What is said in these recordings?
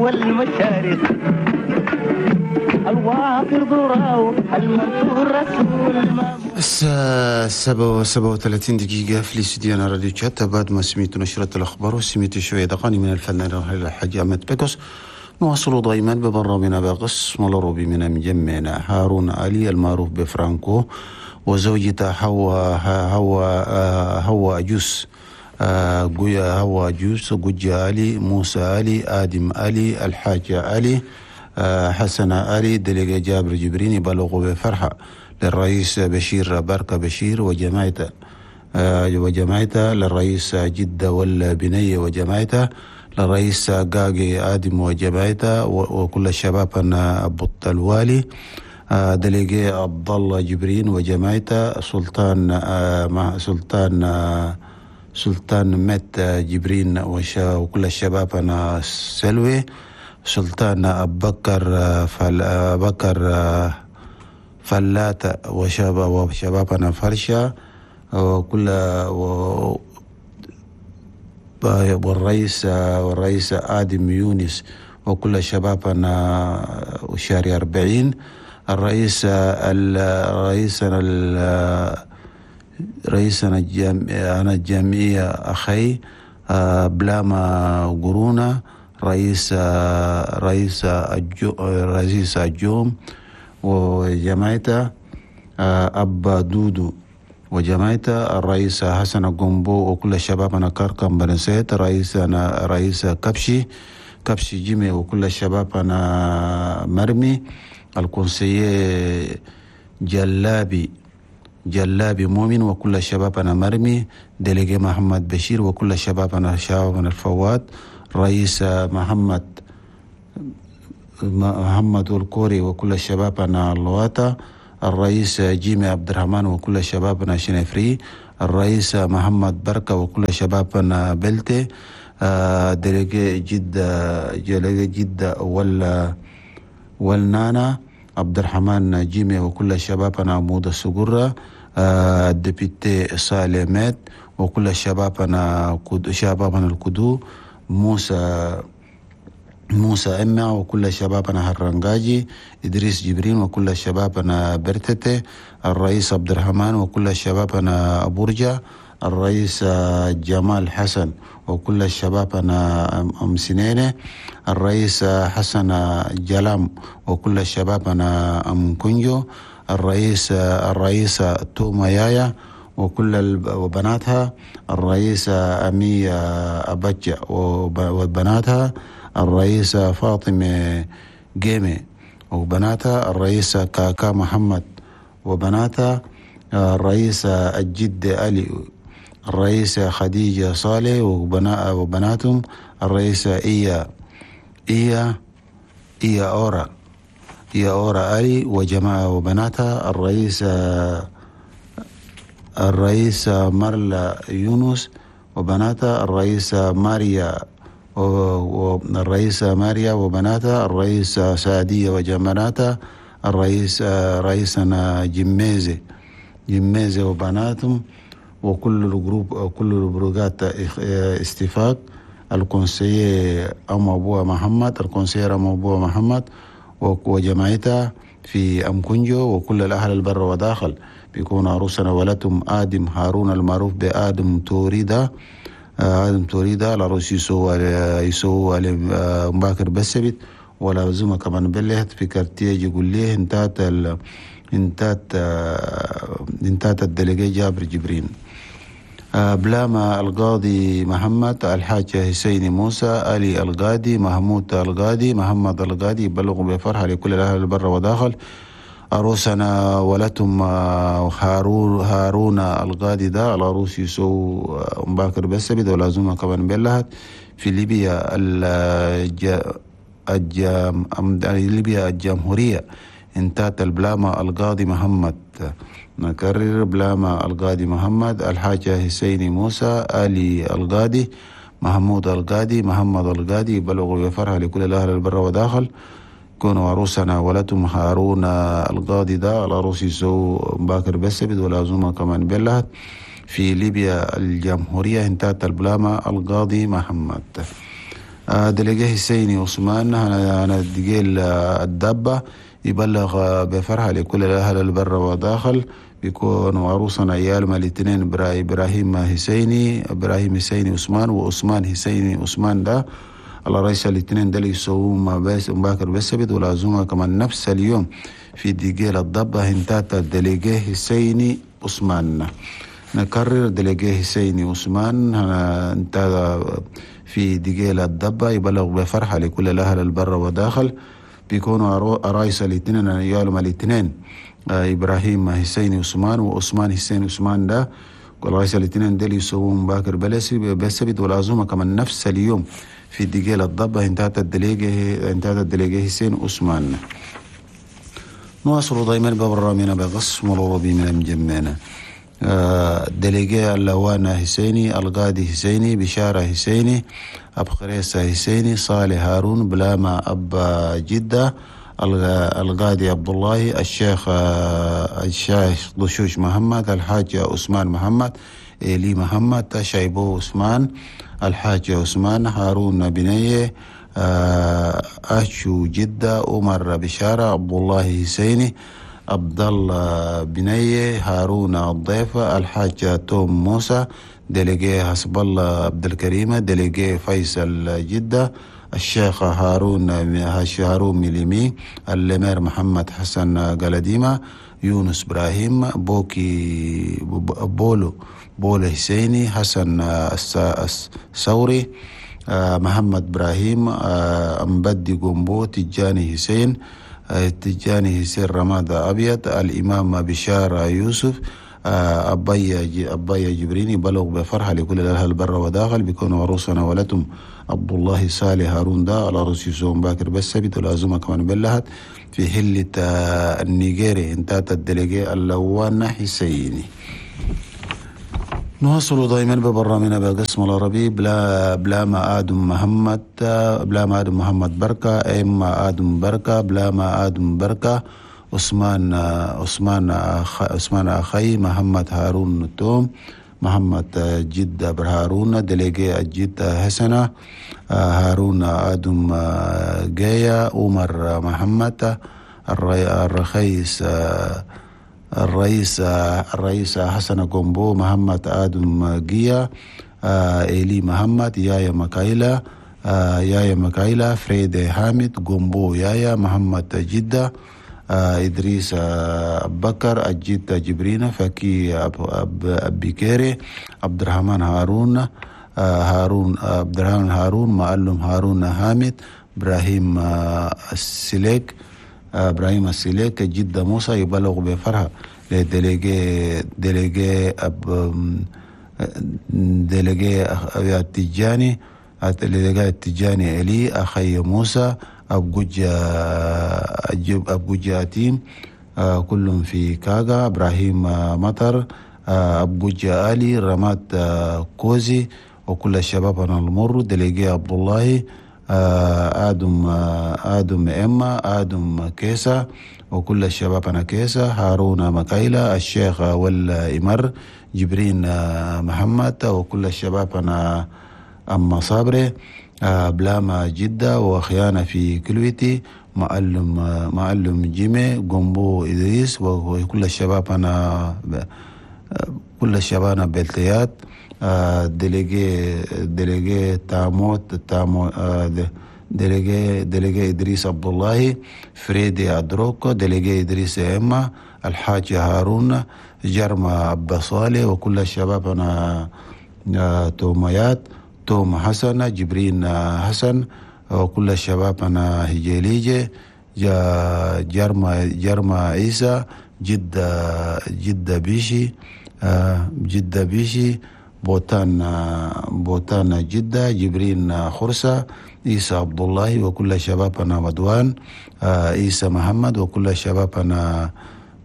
والمشارق الوافر ضراو المنصور رسول. الساعة 7:37 في الاستديو راديو تشات. بعد ما سمعت نشرة الأخبار وسمعت شوية دقاني من الفنان الحاج أحمد بيكوس، نواصل دائما ببرنامجنا بقسم الروبي من مجمعنا هارون علي المعروف بفرانكو وزوجته هوا جوس هوا جوس جوجا علي موسى علي آدم علي الحاج علي حسن علي دليق جابر جبريني بلغوا بفرحة للرئيس بشير بركة بشير وجماعته للرئيس جدة والبنية وجماعته للرئيس قاقي آدم وجماعته وكل الشباب أبو الوالي دليقي عبد الله جبرين وجماعته سلطان سلطان مت جبرين وكل الشباب أنا سلوي سلطان أبكر فلات وشبابنا فرشة وكل والرئيس آدم يونس وكل شبابنا شارع 40 الرئيس رئيسنا الجامعية أخي بلاما قرونا رئيس الجوم وجماعته أبا دودو وجماعته الرئيس حسن قنبو وكل شبابنا كركم بنسيت رئيس كبشي جيمي وكل شبابنا مرمي الكونسية جلابي مؤمن وكل شبابنا مرمي دليجي محمد بشير وكل شبابنا الفواد رئيس محمد الكوري وكل شبابنا اللواطة الرئيس جيمي عبد الرحمن وكل شبابنا شنفري الرئيس محمد بركة وكل شبابنا بلتي دليجي جدة والنانا عبد الرحمن جيمي وكل شبابنا عمود السجرة الدبيتي سالمات وكل شبابنا الكدو موسى إما وكل شبابنا هرنجاجي إدريس جبرين وكل شبابنا برتتي الرئيس عبد الرحمن وكل شبابنا أبورجا الرئيس جمال حسن وكل شبابنا أم سنينة الرئيس حسن جلام وكل شبابنا أم كنجو الرئيس توما يايا وكل وبناتها الرئيس أمي أبجة وبناتها الرئيسة فاطمة جيمي وبناتها الرئيسة كاكا محمد وبناتها الرئيسة الجد علي الرئيسة خديجة صالح وبناتهم الرئيسة إيا إيا إيا أورا علي وجماعة وبناتها الرئيسة مرلا يونس وبناتها الرئيسة ماريا والرئيسة ماريا وبناتها الرئيسة سعدية وجماناتها رئيسنا جميزة وبناتهم وكل ال groupe وكل البروجات استفاق ال conseiller أم أبوها محمد ال conseiller أم أبوها محمد وجماعتها في أم كنجو وكل الأهل البر وداخل بيكون عروسنا ولدهم آدم هارون المعروف بآدم توريدا العروس يسوع مباكر بسبت ولا زوما كمان بلهت في كارتيه يقول ليه انتات الدلقي جابر جبرين بلاما القاضي محمد الحاج حسين موسى علي القاضي محمود القاضي محمد القاضي بلغوا بفرحة لكل الأهل البر وداخل عروسنا ولتهم هارون القاضي ده العروس يسو مباكر بسبت ولا زوما كمان بلهت في ليبيا ليبيا الجمهورية انتات البلاما القاضي محمد. نكرر بلاما القاضي محمد الحاج حسين موسى علي القاضي محمود القاضي محمد القاضي بلغوا بفرحة لكل الأهل البر وداخل كونوا عروسنا ولتم هارون القاضي ده العروس يسو باكر بسبت ولا زوما كمان بلهت في ليبيا الجمهورية انتات البلاما القاضي محمد. délégué حسيني عثمان أنا دقيل الدبة يبلغ بفرحة لكل الأهل البر وداخل بيكونوا عروسنا عيال الاثنين إبراهيم حسيني إبراهيم حسيني عثمان وعثمان حسيني عثمان ده الله رئيس الاثنين ده يسووا بس مباكر بالسبت والعزومة كمان نفس اليوم في دقيل الضبة هنتاتا délégué حسيني عثمان. نكرر délégué حسيني عثمان انت في دقيل الضبة يبلغ بفرحة لكل الأهل البر وداخل بيكونوا عرايس الاثنين عيالهم الاثنين إبراهيم حسيني عثمان وعثمان حسين عثمان ده والرئيس الاثنين ديل يسوون باكر بالسبت والعزومة كمان نفس اليوم في دقيل الضبة انتهت ال délégué انتهت ال délégué حسين عثمان. نواصل دائما ببرنامجنا بقسم العربي من مجمعنا. délégué اللوانا حسيني القاضي حسيني بشارة حسيني أبخريسة حسيني صالح هارون بلاما أب جدة القاضي عبد الله الشيخ الشيخ دشوش محمد الحاج عثمان محمد إلي محمد شايبو عثمان الحاج عثمان هارون بنيه أشو جدة عمر بشارة عبد الله حسيني عبد الله بنيه هارون الضيفة الحاج توم موسى délégué حسب الله عبد الكريم délégué فيصل جدة الشيخ هارون هارون ميليمي ال maire محمد حسن قلديمة يونس إبراهيم بوكي بولو بولو حسيني حسن الثوري محمد إبراهيم أمبدي قنبو تجاني حسين تجاني حسين رمادة أبيض الإمام بشارة يوسف أبايا جبريني بلغ بفرحة لكل الأهل البر وداخل بيكونوا عروسنا ولتم عبد الله صالح هارون دا على رأس يسوع باكر بالسبت والعزومة كمان بلهت في حلة النيجيري انتهت ال délégué اللوان حسيني. نواصل دائما ببرنامجنا بقسم العربي بلا ما آدم محمد بلا ما آدم محمد بركة إما آدم بركة بلا ما آدم بركة عثمان عثمان عثمان أخي محمد هارون توم محمد جدة برهارون délégué الجدة حسنة هارون آدم جايا عمر محمد الرخيص الرئيس الرئيس حسن قنبو محمد آدم جيا إيلي محمد يايا مكايلا يايا مكايلا فريد حامد قنبو يايا محمد جدة إدريس بكر الجدة جبرينا فكي أبيكيري عبد الرحمن هارون هارون عبد الرحمن هارون معلم هارون حامد إبراهيم السليك إبراهيم السليك جدة موسى يبلغ بفرحة ل délégué délégué أب délégué التجاني délégué التجاني إلي أخي موسى أبجوجة أتيم كلهم في كاغا إبراهيم مطر أبجوجة آلي رمات كوزي وكل الشباب أنا المر délégué عبد الله آدم آدم إما آدم كيسا وكل الشباب أنا كيسا هارون مكايلة الشيخ والإمر جبرين محمد وكل الشباب أنا أما صابري بلاما جدة وخيانة في كلويتي معلم جيمي قنبو إدريس وكل الشباب أنا كل الشباب أنا بلتيات délégué تاموت تامو délégué إدريس عبد الله فريدي أدروكو délégué إدريس إما الحاج هارون جرما عبد صالح وكل الشباب أنا توميات توم حسن جبرين حسن وكل الشباب أنا هجيليجي جرما عيسى جدة بيشي جدة بيشي بوتان جدة جبرين خرسة عيسى عبد الله وكل شبابنا ودوان عيسى محمد وكل شبابنا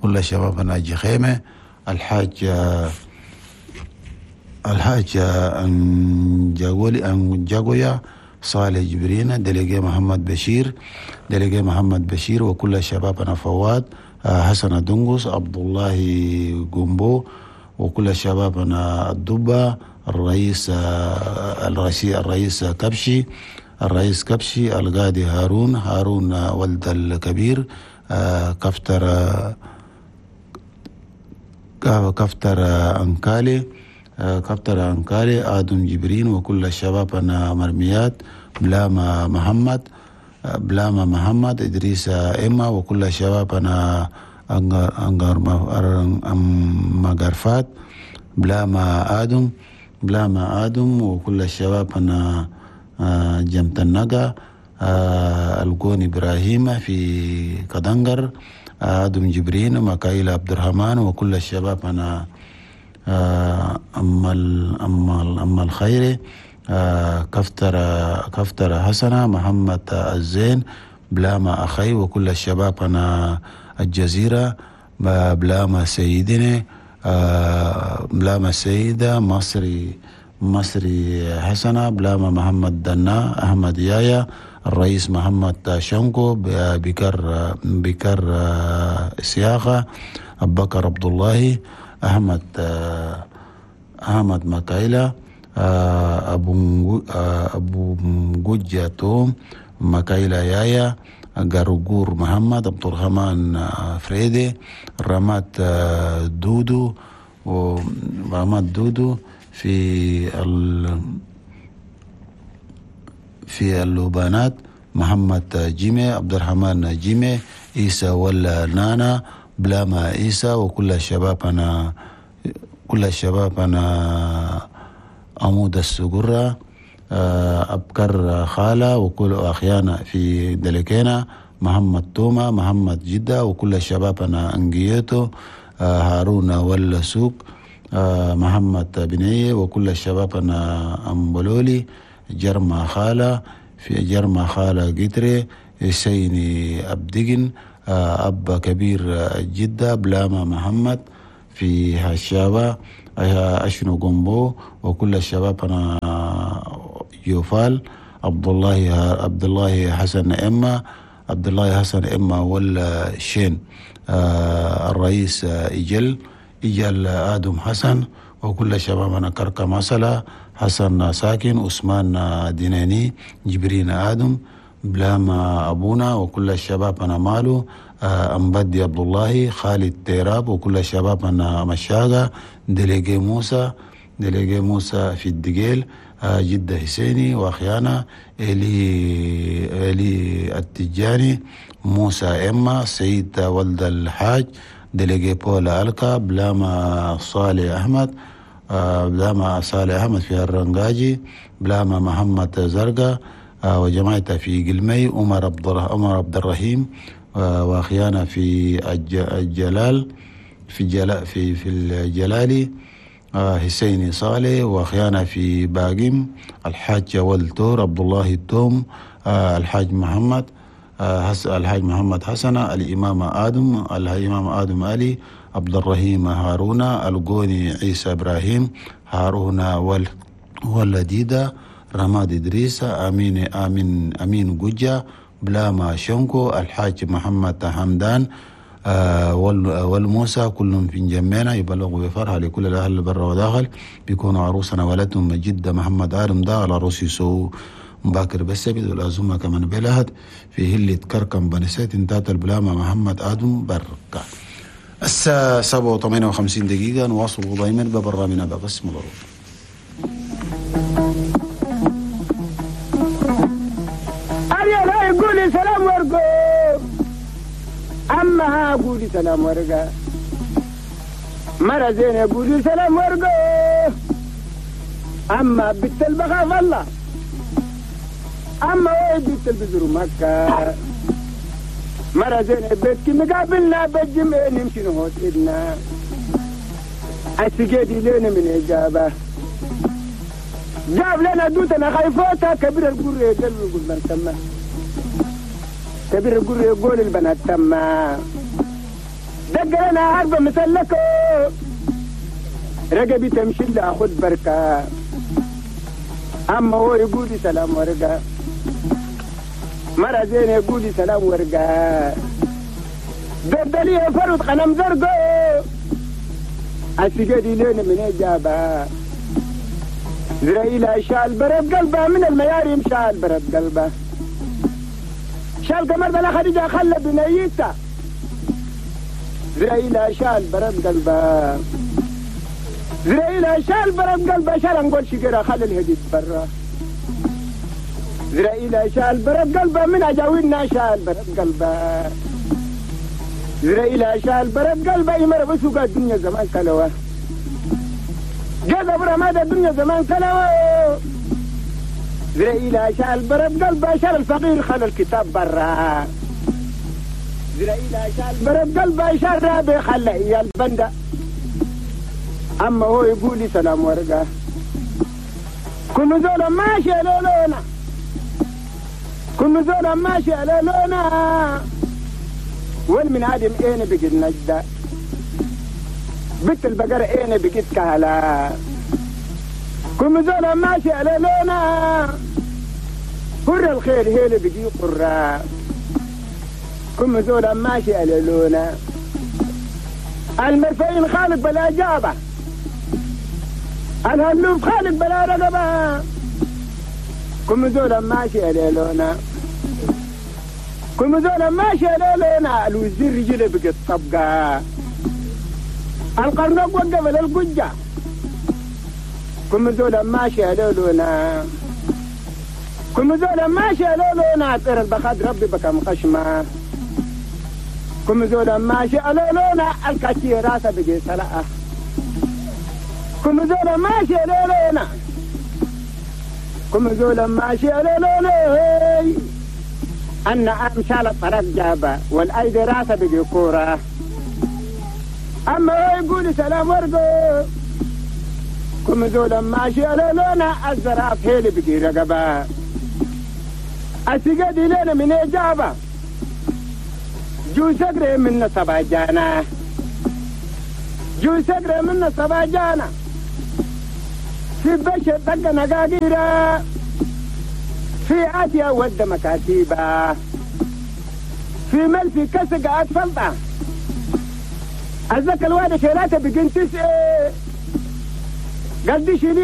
كل شبابنا جخيمة الحاج أنجاغويا صالح جبرين délégué محمد بشير délégué محمد بشير وكل شبابنا فواد حسن دنقس عبد الله قنبو وكل شبابنا الدبة الرئيس كبشي الرئيس كبشي القاضي هارون هارون ولد الكبير كفتر كفتر أنكالي كفتر أنكالي آدم جبرين وكل الشباب أنا مرميات بلاما محمد بلاما محمد إدريس إما وكل الشباب أنا أنغر مغرفات بلاما آدم بلاما آدم وكل الشباب أنا جمت النقا القون إبراهيم في كدنجر آدم جبرين مكايل عبد الرحمن وكل الشباب أنا أما الخير كفتر كفتر حسنة محمد الزين بلاما أخي وكل الشباب أنا الجزيرة بلاما سيدنا بلاما سيدة مصري مصري حسنة بلاما محمد دنا أحمد يايا الرئيس محمد شنكو بكر بكر سياخة أبو بكر عبد الله أحمد أحمد مكايلة أبو مجة توم مكايلة يايا غرغور محمد عبد الرحمن فريدي رمات دودو ورمات دودو في في اللوبانات محمد جيمي عبد الرحمن جيمي عيسى ولا نانا بلاما عيسى وكل الشباب أنا كل الشباب أنا عمود السجرة أبكر خالة وكل أخيانا في دلكينا محمد توما محمد جدة وكل الشباب أنا أنجيتو هارون ولا سوق محمد بنية وكل الشباب أنا أمبلولي جرما خالة في جرما خالة قتري سيني أبدقن أب كبير جدة بلاما محمد في هالشابة أشنو قنبو وكل الشباب أنا يوفال عبد الله عبد الله حسن إما عبد الله حسن إما ولا شين الرئيس إجل إجل آدم حسن وكل شبابنا كركة مسألة حسن ساكن عثمان ديناني جبرين آدم بلاما أبونا وكل الشباب أنا مالو أمبدي عبد الله خالد تيراب وكل الشباب أنا مشاقة دليجي موسى دليجي موسى في الدقيل جدة حسيني وأخيانا إلي التجاني موسى إما سيد ولد الحاج دليجي بولا ألكا بلاما صالح أحمد بلاما صالح أحمد في الرنجاجي بلاما محمد زرقا وجماعته في قلمي عمر عبد الرحيم واخيانا في الجلال في جلال في الجلالي حسيني صالح واخيانا في باقم الحاج والتور عبد الله التوم الحاج محمد الحاج محمد حسن الإمام آدم الإمام آدم علي عبد الرحيم هارون القوني عيسى إبراهيم هارون والديدة رماد إدريس أمين أمين أمين جوجا بلاما شنكو الحاج محمد حمدان والموسى كلهم في جمعنا يبلغوا بفرحة لكل الأهل برا وداخل بيكونوا عروسنا ولدهم جدة محمد آدم دا على روسي سو مباكر بسبت والأزمة كمان بلهد في هلة كركم بنسيت انتات البلامة محمد آدم بركة. الساعة 7:58 دقيقة نواصل دائما ببرنامجنا بقسم الظروف. قولي سلام ورقو أما قولي سلام ورقة مرة زينة قولي سلام ورقو أما بنت البخاف الله أما وين بنت البزر مكة مرة زينة بيتك مقابلنا بالجمع نمشي نهوت إدنا السجادي لنا من إجابة جاب لنا دوتنا خايفوتها كبير القرية قلبي يقول من تمه كبير القرية يقول البنات تمه دق لنا عربة مسلكة رقبي تمشي لأخذ بركة أما هو يقول سلام ورقة مرة زين يقول سلام ورقة بدلي فرد قلم زرقة السجادي لنا من إجابة زرائيل شال برد قلبه من المياريم شال برد قلبه شال قمر بلا خديجة خلى بنيته زرائيل شال برد قلبه زرائيل شال برد قلبه شال نقول شجرة خلى الهديد برا زرائيل شال برد قلبه من أجاوينا شال برد قلبه زرائيل شال برد قلبه يمر بسوق الدنيا زمان كلوه جذب رماد الدنيا زمان كلوه زرائيل شال برد قلبه شال الفقير خلى الكتاب برا زرائيل شال برد قلبه شال رابي خلى إياه البندة أما هو يقول لي سلام ورقة كل زول ماشي لولونا كل زول ماشي على لونا والمن عادم اين بقيت نجدة بنت البقرة اين بقيت كهلا كل زول ماشي على لونا قر الخير هيل بقي قرة كل زول ماشي على لونا المرفعين خالق بلا جابة الهلوف خالق بلا رقبة كل زول ماشي على لونا كل زول ماشي على لونا الوزير رجله بقت طبقة القرنق وقف للقجة كل زول ماشي على لونا كل زول ماشي على لونا طير البخاد ربي بكم خشمة كل زول ماشي على لونا الكاتي راسه بقي سلعة كل زول ماشي على لونا كم زول ماشي على لولي أن أمشال الطرق جابة والأيدي راسه بقي كورة أما هو يقول سلام ورقو كم زول ماشي على لونا الزراف هيلي بقي رقبة أسيقدي لنا من إجابة جو سقري من سبع جانا جو سقري من سبع جانا في بشر دق نقاقيرة في آسيا ود مكاتيبة في مل في كسق أطفلطة أذكر الواد شيلاته بقين 9 قال دي شيلية.